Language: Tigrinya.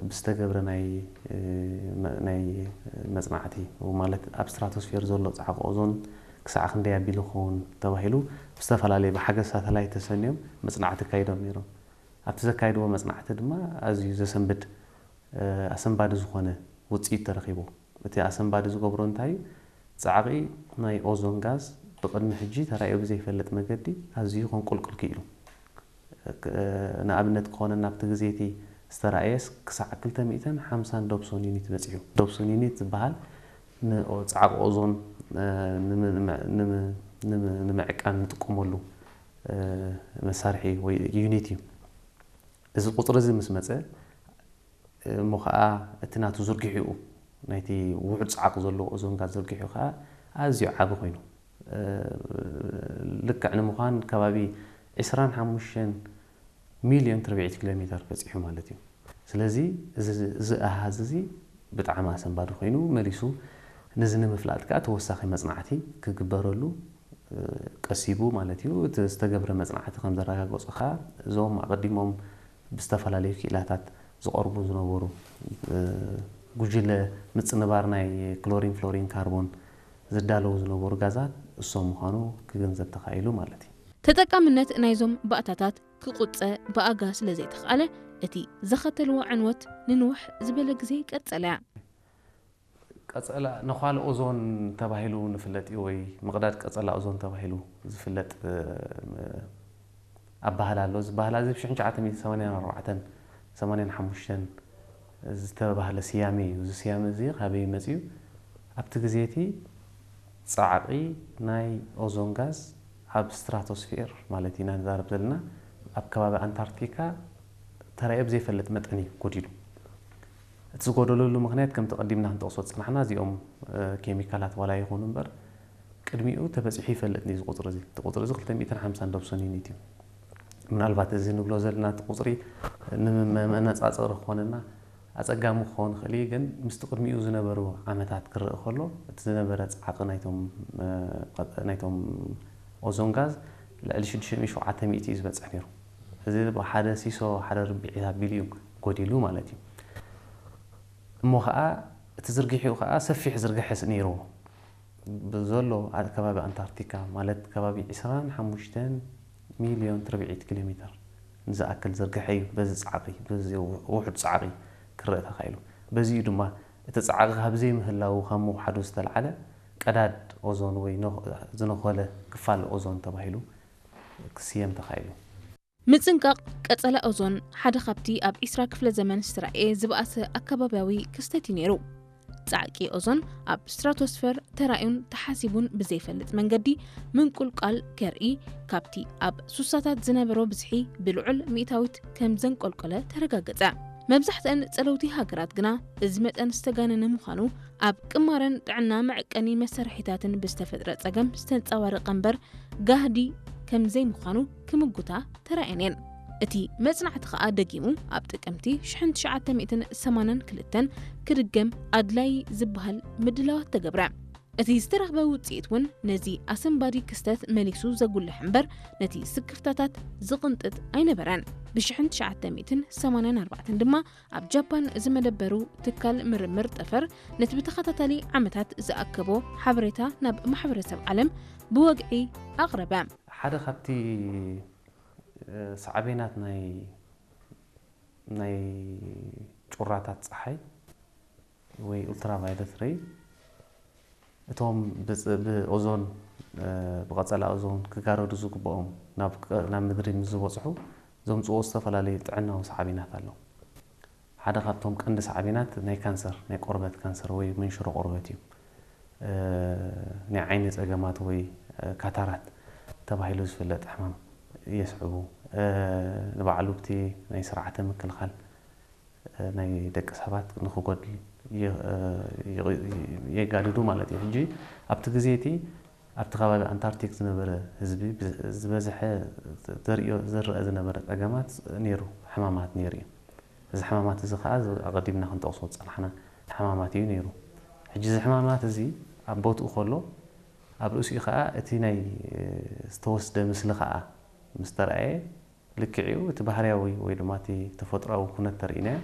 ብዝተገብረ ናይ መ- ናይ መጽናዕቲ፣ ማለት ኣብ ስትራቶስፌር ዘሎ ጻዕቂ ኦዞን ክሳዕ ክንደይ ኣቢሉ ክኸውን ተባሂሉ ብዝተፈላለየ ብሓገዝ ሳተላይት ተሰንዮም መጽናዕቲ ኣካይዶም ነይሮም። ኣብቲ ዘካይድዎ መጽናዕቲ ድማ ኣዝዩ ዘሰንብድ ኣሰንባዲ ዝኾነ ውጽኢት ተረኺቡ። እቲ ኣሰንባዲ ዝገብሮ እንታይ እዩ? ጻዕቒ ናይ ኦዞን ጋዝ ብቕድሚ ሕጂ ተራእዩ ብዘይፈልጥ መገዲ ኣዝዩ ከንቁልቁል ክኢሉ። ንኣብነት ክኾነና ኣብቲ ግዜ እቲ ዝተራእየስ ክሳዕ ክልተ ሚእትን ሓምሳን ዶብሶን ዩኒት በጺሑ። ዶብሶን ዩኒት ዝበሃል ንጻዕቂ ኦዞን ንምዕቃን ንጥቀመሉ መሳርሒ ወይ ዩኒት እዩ። እዚ ቁፅሪ እዚ ምስ መፀ እሞ ከዓ እቲ ናቱ ዝርግሒኡ ናይቲ ውሑድ ፃዕቂ ዘለዎ ኦዞን ጋዝ ዝርግሒኡ ከዓ ኣዝዩ ዓቢ ኮይኑ ልክዕ ንምዃን ከባቢ ዕስራን ሓሙሽተን ሚልዮን ትርብዒት ኪሎ ሜተር በፂሑ ማለት እዩ። ስለዚ እዚ ኣሃዝ እዚ ብጣዕሚ ኣሰንባዲ ኮይኑ መሊሱ ነዚ ንምፍላጥ ከዓ ተወሳኺ መፅናዕቲ ክግበረሉ ቀሲቡ ማለት እዩ። እቲ ዝተገብረ መፅናዕቲ ከም ዘረጋገፆ ከዓ እዞም ኣቐዲሞም ብዝተፈላለዩ ክኢላታት ዝቐርቡ ዝነበሩ ጉጅለ ምፅንባር ናይ ክሎሪን ፍሎሪን ካርቦን ዝዳለዉ ዝነበሩ ጋዛት እሶም ምዃኑ ክግንዘብ ተኻኢሉ ማለት እዩ። ተጠቃምነት ናይዞም ባእታታት ክቑፀ ብኣጋ ስለ ዘይተኽኣለ እቲ ዘኸተልዎ ዕንወት ንንውሕ ዝበለ ግዜ ቀጸለ። ቀጸላ ነዃል ኦዞን ተባሂሉ ንፍለጥ እዩ ወይ ምቕዳድ ቀጸላ ኦዞን ተባሂሉ ዝፍለጥ ኣባህላ ኣሎ። እዚ ባህላ እዚ ብ ሽሕን ትሽዓተ ሚእትን ሰማንያን ኣርባዕተን ሰማንያን ሓሙሽተን ዝተባህለ ስያሜ እዩ። እዚ ስያሜ እዚ ካበይ መፅዩ? ኣብቲ ግዜ እቲ ፃዕቒ ናይ ኦዞን ጋዝ ኣብ ስትራቶስፌር ማለት ኢና ንዛረብ ዘለና ኣብ ከባቢ ኣንታርክቲካ ተራእዮ ብዘይፈልጥ መጠን እዩ ጎዲሉ። እቲ ዝጎደለሉ ምክንያት ከምቲ ቀዲምና ክንጠቕሶ ዝፀናሕና እዚኦም ኬሚካላት ዋላ ይኹኑ እምበር ቅድሚኡ ተበፂሑ ይፈልጥ እዩ እዚ ቁፅሪ እዚ። እቲ ቁፅሪ እዚ ክልተ ሚእትን ሓምሳን ዶብሶን ዩኒት እዩ። ምናልባት እዚ ንብሎ ዘለና እቲ ቁፅሪ ንመነፃፀሪ ክኾነና ኣፀጋሚ ክኸውን ይኽእል እዩ፣ ግን ምስቲ ቅድሚኡ ዝነበሩ ዓመታት ክረአ ከሎ እቲ ዝነበረ ፃዕቂ ናይቶም ናይቶም ኦዞን ጋዝ ልዕሊ ሽዱሽተ ሚእቲ ሸውዓተ ሚእቲ እዩ ዝበፅሕ ነይሩ። እዚ ሓደ ሲሶ ሓደ ርብዒት ኣቢሉ እዩ ጎዲሉ ማለት እዩ። እሞ ከዓ እቲ ዝርግሒኡ ከዓ ሰፊሕ ዝርግሐ ነይርዎ። ብዘሎ ከባቢ ኣንታርክቲካ ማለት ከባቢ ዕስራን ሓሙሽተን ሚልዮን ትርብዒት ኪሎ ሜተር ንዝኣክል ዝርግሐ እዩ። በዚ ፃዕቂ በዚ ውሑድ ፃዕቂ ክረአ ተኻኢሉ። በዚ እዩ ድማ እቲ ፃዕቂ ካብ ዘይምህላዉ ካብ ምውሓዱ ዝተልዓለ ቀዳድ ኦዞን ወይ ዝነኾለ ክፋል ኦዞን ተባሂሉ ክስየም ተኻኢሉ። ምጽንቃቕ ቀጸላ ኦዞን ሓደ ካብቲ ኣብ ዒስራ ክፍለ ዘመን ዝተራእየ ዝበኣሰ ኣከባብያዊ ክስተት እዩ ነይሩ። ጻዕቂ ኦዞን ኣብ ስትራቶስፈር ተራእዩን ተሓሲቡን ብዘይፈልጥ መንገዲ ምንቁልቋል ከርኢ ካብቲ ኣብ ሱሳታት ዝነበሮ ብዝሒ ብልዑል ሚእታዊት ከም ዘንቆልቆለ ተረጋገጸ። መብዛሕትአን ጸለውቲ ሃገራት ግና እዚ መጠን ዝተጋነነ ምዃኑ ኣብ ቅማረን ጥዕና መዐቀኒ መሳርሒታትን ብዝተፈጥረ ጸገም ዝተንጸባረቐ እምበር ጋህዲ ከም ዘይምዃኑ ክምጉታ ተራእየን እየን። እቲ መጽናዕቲ ከኣ ደጊሙ ኣብ ጥቅምቲ ሽሕን ትሽዓተ ሚእትን ሰማንያን ክልተን ክድገም ኣድላዪ ዝበሃል ምድላዋት ተገብረ። እቲ ዝተረኽበ ውጽኢት እውን ነዚ ኣሰንባዲ ክስተት መሊሱ ዘጉልሕ እምበር ነቲ ስክፍታታት ዝቕንጥጥ ኣይነበረን። ብ ሽሕን ትሽዓተ ሚእትን ሰማንያን ኣርባዕተን ድማ ኣብ ጃፓን ዝመደበሩ ትካል ምርምር ጠፈር ነቲ ብተኸታታሊ ዓመታት ዝኣከቦ ሓበሬታ ናብ ማሕበረሰብ ዓለም ብወግዒ ኣቕረበ። ሓደ ካብቲ ሳዕቤናት ናይ ናይ ጩራታት ፀሓይ ወይ ኡልትራቫዮለት ሬይ እቶም ብኦዞን ብቐጸላ ኦዞን ክጋረዱ ዝግብኦም ናብ ምድሪ ምስ ዝበፅሑ ዘምፅዎ ዝተፈላለዩ ጥዕናዊ ሳዕቤናት ኣሎ። ሓደ ካብቶም ቀንዲ ሳዕቤናት ናይ ካንሰር ናይ ቆርበት ካንሰር ወይ መንሽሮ ቆርበት እዩ። ናይ ዓይኒ ጸገማት ወይ ካታራት ተባሂሉ ዝፍለጥ ሕማም የስዕቡ። ንባዕሉ ብቲ ናይ ስርዓተ ምክልኻል ናይ ደቂ ሰባት ንክጎድል የጋድዱ ማለት እዩ። ሕጂ ኣብቲ ግዜ እቲ ኣብቲ ከባቢ ኣንታርክቲክ ዝነበረ ህዝቢ ዝበዝሐ ዘርእዮ ዝረአ ዝነበረ ጸገማት ነይሩ፣ ሕማማት ነይሩ እዩ። እዚ ሕማማት እዚ ከዓ ኣቐዲምና ክንጠቕሶ ዝጸናሕና ሕማማት እዩ ነይሩ። ሕጂ እዚ ሕማማት እዚ ኣብ ቦትኡ ከሎ ኣብ ርእሲኡ ከዓ እቲ ናይ ዝተወስደ ምስሊ ከዓ ምስ ተረኣየ ልክዕ እዩ። እቲ ባህርያዊ ወይ ድማ እቲ ተፈጥሮኣዊ ኩነት ተርእይናዮ